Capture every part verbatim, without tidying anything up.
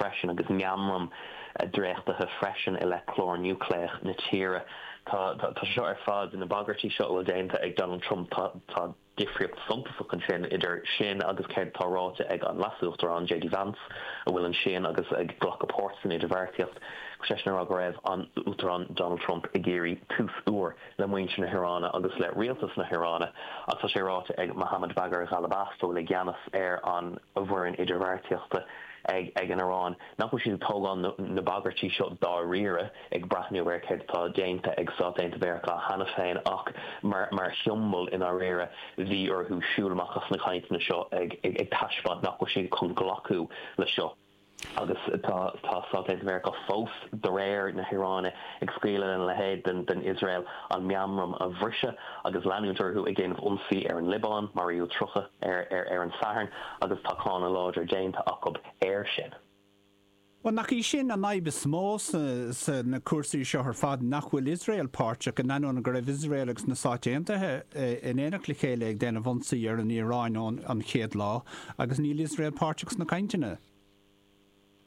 freisin agus meamram dréachtaithe freisin i leith clár núicléach na tíre. Tá tá seo ar fad na bagairtí seo bhfuil déanta ag Donald Trump tá tá difríocht suntasach ansin idir sin agus céard atá ráite ag an Leas-Uachtarán JD Vance a bhfuil ansin agus ag glacadh páirt san idirbheartaíocht seisean ag rá go raibh an Uachtarán Donald Trump ag iarraidh tús úr le muintir na hIaráine agus le rialtas na hIaráine ach tá sé ráite ag Mohammad Bagher Ghalibaf a bhfuil i gceannas ar an bhfoireann idirbheartaíochta ag ag an Iaráin nach bhfuil siad ag tógáil na bagairtí seo dáiríre ag breathnú ar céard atá déanta ag Stáit Aontaithe Mheiriceá cheana féin ach mar mar shiombail i ndáiríre bhí orthu siúl amach as na cainteanna seo ag ag ag taispeáint nach bhfuil siad chun glacadh le seo. agus tá tá Stáit Aontaithe Mheiriceá fós de réir na hIaráine ag scaoileadh lena leithéid den den Iosrael an meamram a bhriseadh agus leanúint orthu ag déanamh ionsaí ar an Liobáin maraíodh tríocha ar ar ar an Satharn agus tá cáineadh láidir déanta acu air sin. Well nach í sin an fhadhb is mó sa na cúrsaí seo ar fad nach bhfuil Iosrael páirteach in ainneoin go raibh Iosrael agus na Stáit Aontaithe in éineacht le chéile ag déanamh ionsaí ar an Iaráin ón an chéad lá agus níl Iosrael páirteach sna cainteanna.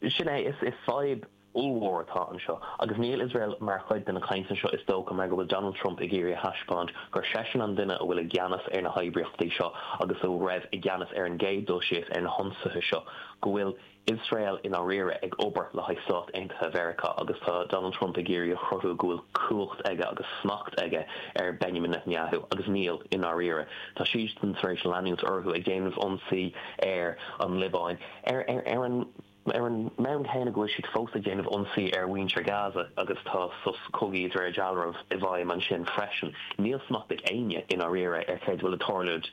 Sin é is is fadhb ollmhór atá anseo agus níl Iosrael mar chuid de na cainteanna seo is dócha mar go bhfuil Donald Trump ag iarraidh a thaispeáint gur seisean an duine a bhfuil i gceannas ar na hoibríochtaí seo agus a raibh i gceannas ar an gcéad dul síos ar na hionsaithe seo go bhfuil Iosrael i ndáiríre ag obair le haghaidh Stáit Aontaithe Mheiriceá agus tá Donald Trump ag iarraidh a chruthú go bhfuil cumhacht aige agus smacht aige ar Benjamin Netanyahu agus níl i ndáiríre. Tá siad tar éis leanúint orthu ag déanamh ionsaí ar an Liobáin ar ar ar an ar an mbonn céanna go bhfuil siad fós ag déanamh ionsaí ar mhuintir Gaza agus tá sos cogaidh de réir dealraimh i bhfeidhm ansin freisin. Níl smacht ag éinne i ndáiríre ar céard a bhfuil ag tarlúint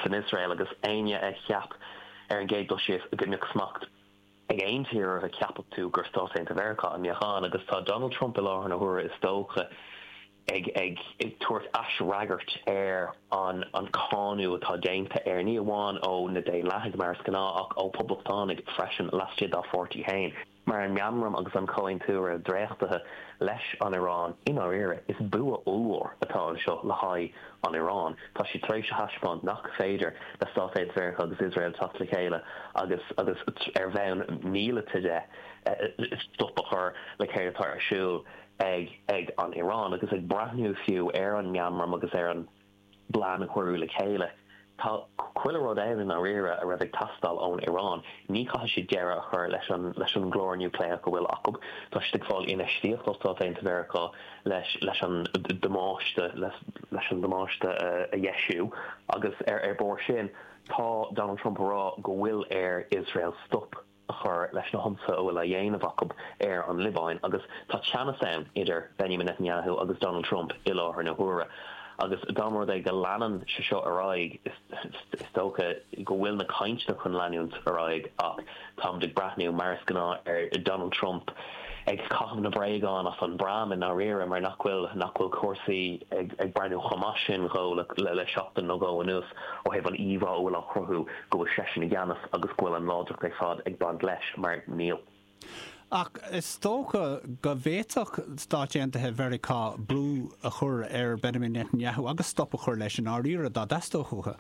san Iosrael agus éinne a cheap ar an gcéad dul síos go mbeadh smacht ag aon tír a cheapfadh tú gur Stáit Aontaithe Mheiriceá a mbeadh ann agus tá Donald Trump i láthair na huaire is dócha ag ag ag tabhairt aisfhreagairt ar an an cáineadh atá déanta air ní amháin ó na Daonlathaigh mar is gnáth ach ó poblachtánaigh freisin laistigh dá pháirtí féin. Mar an meamram agus an comhaontú dréachtaithe leis an Iaráin i ndáiríre is bua ollmhór atá anseo le haghaidh an Iaráin. Tá sé tar éis a thaispeáint nach féidir le Stáit Aontaithe Mheiriceá agus Iosrael teacht le chéile agus agus ar bhonn míleata de stop a chur le céard atá ar siúl ag ag an Iaráin agus ag breathnú fiú ar an meamram agus ar an bplean a cuireadh le chéile. Tá chuile rud ann i ndáiríre a raibh ag teastáil ón Iaráin. Ní chaithfidh siad deireadh a chur leis an leis an gclár núicléach go bhfuil acu. Tá siad ag fáil infheistíocht ó Stáit Aontaithe Mheiriceá leis leis an damáiste leis leis an damáiste a dheisiú agus ar ar bord sin tá Donald Trump ag rá go bhfuil ar Iosrael stop a chur leis na hionsaithe a bhfuil á dhéanamh acu ar an Liobáin agus tá teannas ann idir Benjamin Netanyahu agus Donald Trump i láthair na huaire. Agus dá mba rud é go leanann sé seo ar aghaidh is dócha go bhfuil na cainteanna chun leanúint ar aghaidh ach táimid ag breathnú mar is gnáth ar Donald Trump ag caitheamh na bréagán as an bpram i ndáiríre mar nach bhfuil nach bhfuil cúrsaí ag ag breathnú chomh maith sin dhó le le seachtain nó dhó anuas ó thaobh an íomhá a bhfuil á chruthú go bhfuil seisean i gceannas agus go bhfuil an láidreacht ar fad ag baint leis mar níl. Ach is dócha go bhféadfadh Stáit Aontaithe Mheiriceá brú a chur ar Benjamin Netanyahu agus stop a chur leis i ndáiríre dá dteastódh uathu.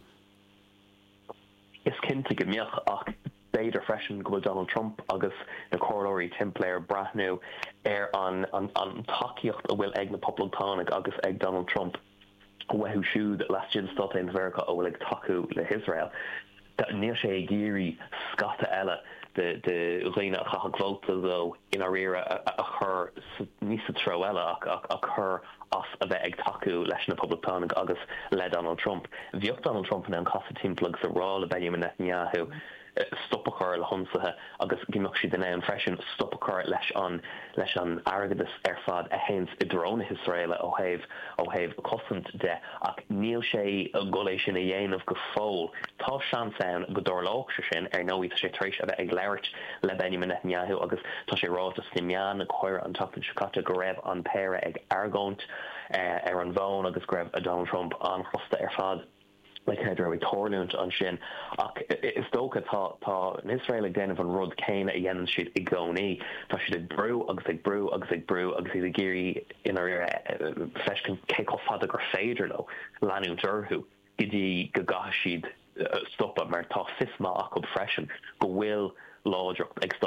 Is cinnte go mbeadh ach b'fhéidir freisin go bhfuil Donald Trump agus na comhairleoirí timpeall air ag breathnú ar an an an tacaíocht a bhfuil ag na Poblachtánaigh agus ag Donald Trump uathu siúd laistigh de Stáit Aontaithe Mheiriceá a bhfuil ag tacú le hIosrael. Níl sé ag iarraidh scata eile de de dhaoine a chaithfeadh vóta dó i ndáiríre a chur ní sa treo eile ach ach a chur as a bheith ag tacú leis na Poblachtánaigh agus le Donald Trump. Bheadh Donald Trump in ann casadh timpeall agus a rá le Benjamin Netanyahu stop a chur le hionsaithe agus go mbeadh siad in ann freisin stop a chur leis an leis an airgeadas ar fad a théann i dtreo na hIosraeile ó thaobh ó thaobh cosaint de ach níl sé ag dul é sin a dhéanamh go fóill. Tá seans ann go dtarlódh sé sin ar ndóigh tá sé tar éis a bheith ag labhairt le Benjamin Netanyahu agus tá sé ráite sna meáin go háirithe an tseachtain seo caite go raibh an péire ag argóint ar an bhfón agus go raibh Donald Trump an-chrosta ar fad. le céard a raibh ag tarlúint ansin ach is dócha tá tá an Iosrael ag déanamh an rud céanna a dhéanann siad i gcónaí. Tá siad ag brú agus ag brú agus ag brú agus iad ag iarraidh i ndáiríre feiscint cé chomh fada gur féidir leo leanúint orthu go dtí go gcaithfidh siad stopadh mar tá fios maith acu freisin go bhfuil láidreacht ag Stát